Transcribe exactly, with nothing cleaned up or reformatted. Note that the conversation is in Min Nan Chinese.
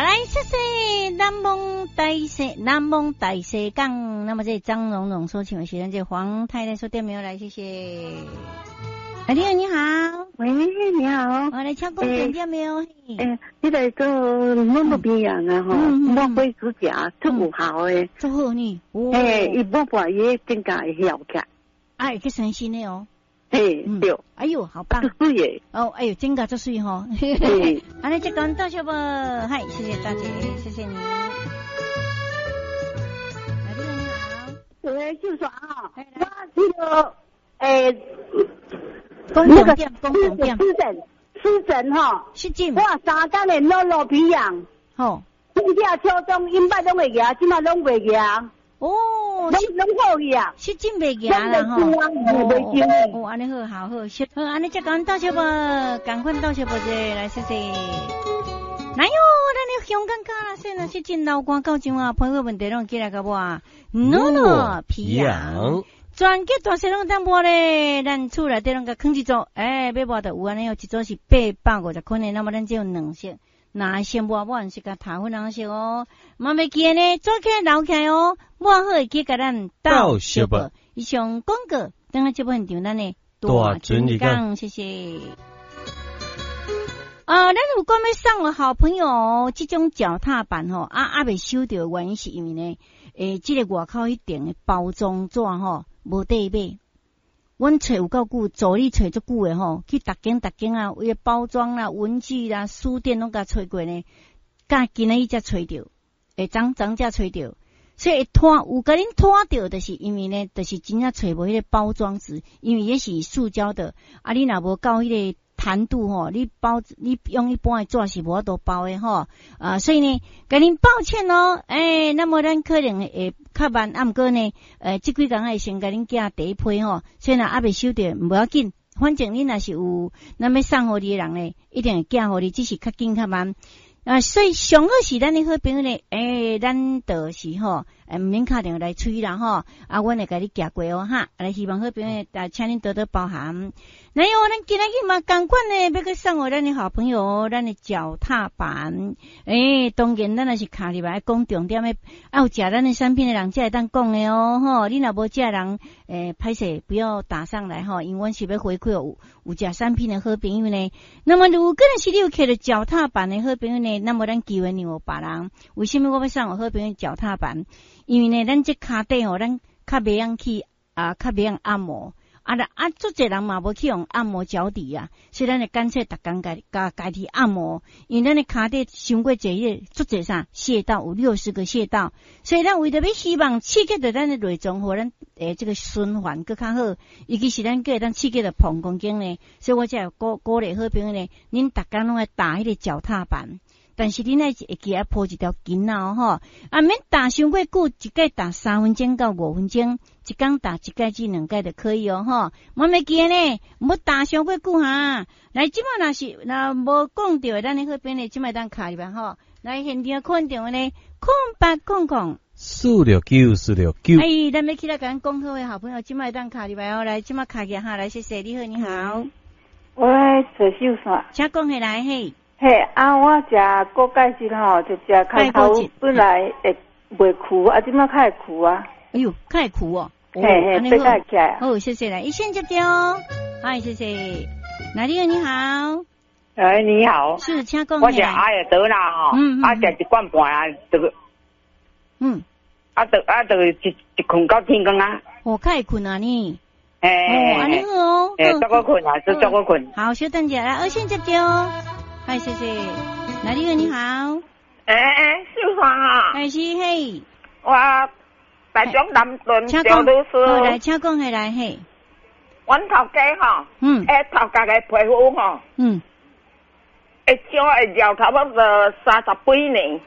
來，謝謝南方大西南方大西港。那麼這張蓉蓉說，請問先生，這黃太太說店沒有來，謝謝。啊，你好，你好。喂，你好。我來敲工點店沒有？欸，這個做抹抹鼻炎啊吼，抹火指甲足有效的。足好呢。欸，伊抹破伊增加會效起來。哎，去生新的哦。嘿，對。哎喲，好棒。足媠的。哦，哎喲，真個足媠吼。按呢，這講到這無？嗨，謝謝大姐，謝謝你。來，你好。喂，秀爽啊，我這個欸，那個濕疹，濕疹吼，濕疹。我三工的落落皮癢。吼。春夏秋冬，永捌攏會額，這馬攏袂額。哦，攏攏好去啊，濕疹袂額啦吼。哦，按呢好，好好，好，按呢這講到這無，趕快到這無者，來謝謝。來喲，咱的香港卡啦，說若濕疹流汗到這啊，皮膚問題攏起來共我，裸裸皮癢。全國大細攏當抹咧，咱厝內底攏共囥一組，欸，欲抹就有按呢哦，一組是八百五十塊呢，那麼咱只有兩色，哪先抹抹是共頭粉紅色哦，嘛袂記呢，做起來留起來哦，抹好會記共咱鬥相報。以上廣告，等下節目現場咱的大尊日講，謝謝。啊，咱有講欲送予好朋友這種腳踏板吼，啊啊未收著的原因是因為呢，欸，這個外口彼頂的包裝紙吼無得買。阮揣有夠久，助理揣足久的吼，去逐間逐間啊，為包裝啦、文具啦、書店攏共揣過呢，佮今仔日才揣著，會昨昨才揣著，所以會拖有共恁拖著，就是因為呢，就是真正揣無彼個包裝紙，因為彼是塑膠的，啊，你若無夠彼個彈度吼，你包你用一般的紙是無法度包的吼，啊，所以呢，共恁抱歉哦，欸，那麼咱可能會較慢，啊，毋過呢，呃，這幾工會先共恁寄第一批吼，所以若猶未收著，無要緊，反正恁若是有咱欲送予你的人呢，一定會寄予你，只是較緊較慢。啊，所以上好是咱的好朋友呢，欸，咱就是吼，欸，毋免敲電話來催啦吼，啊，阮會共你寄過哦哈，來希望好朋友，啊，請恁多多包涵。來喲，咱今仔日嘛仝款呢，欲閣送予咱的好朋友，咱的腳踏板。欸，當然咱若是敲入來講重點的，啊，有食咱的產品的人才會當講的哦，吼，你若無食人，欸，歹勢不要打上來吼，因為阮是欲回饋有有食產品的好朋友呢。那麼如果是你有揢著腳踏板的好朋友呢，那麼咱機會讓予別人。為什麼我欲送予好朋友腳踏板？因為呢，咱這跤底吼，咱較袂曉去啊，較袂曉按摩。啊啦啊，足濟人嘛無去用按摩腳底啊，所以咱就乾脆逐工共共家己按摩。因為咱的跤底傷過濟彼個足濟啥穴道，有六十個穴道，所以咱為著欲希望刺激著咱的內臟，予咱欸這個循環閣較好，尤其是咱閣會當刺激著膀胱經呢，所以我才會鼓鼓勵好朋友呢，恁逐工攏愛踏彼個腳踏板。但是恁愛會記愛鋪一條巾仔哦吼，啊免踏傷過久，一擺踏三分鐘到五分鐘，一工踏一擺至兩擺就可以哦吼。莫袂記呢，毋踏傷過久哈。來，這馬若是若無講著的，咱的好朋友這馬當敲入來吼。來現場看電話呢，空八空空四六九四六九。哎，咱欲起來共咱講好的好朋友，這馬當敲入來哦。來，這馬敲起來哈，來謝謝你好，你好。喂，陳秀山，請講起來嘿。嘿，啊，我食骨鈣質吼，就食開頭本來會袂跍，啊，這馬較會跍啊。哎喲，較會跍哦。嘿嘿，爬起來。好，謝謝來，一線接掉。嗨，謝謝。哪裡你好？哎，你好。是，請講。我食阿會得啦吼，嗯啊，食一罐半啊，就嗯，啊，就啊，就一一睏到天光啊。哦，較會睏啊你。欸，哦，按呢好哦。欸，足好睏啊，足足好睏。好，稍等一下，來，二線接掉。嗨，謝謝。哪裡你好？欸欸，秀芳啊。哎是嘿。我台中南屯趙老師。好，來，請講起來嘿。阮頭家吼，嗯，欸頭殼的皮膚吼，嗯，會長會老差不多三十幾年。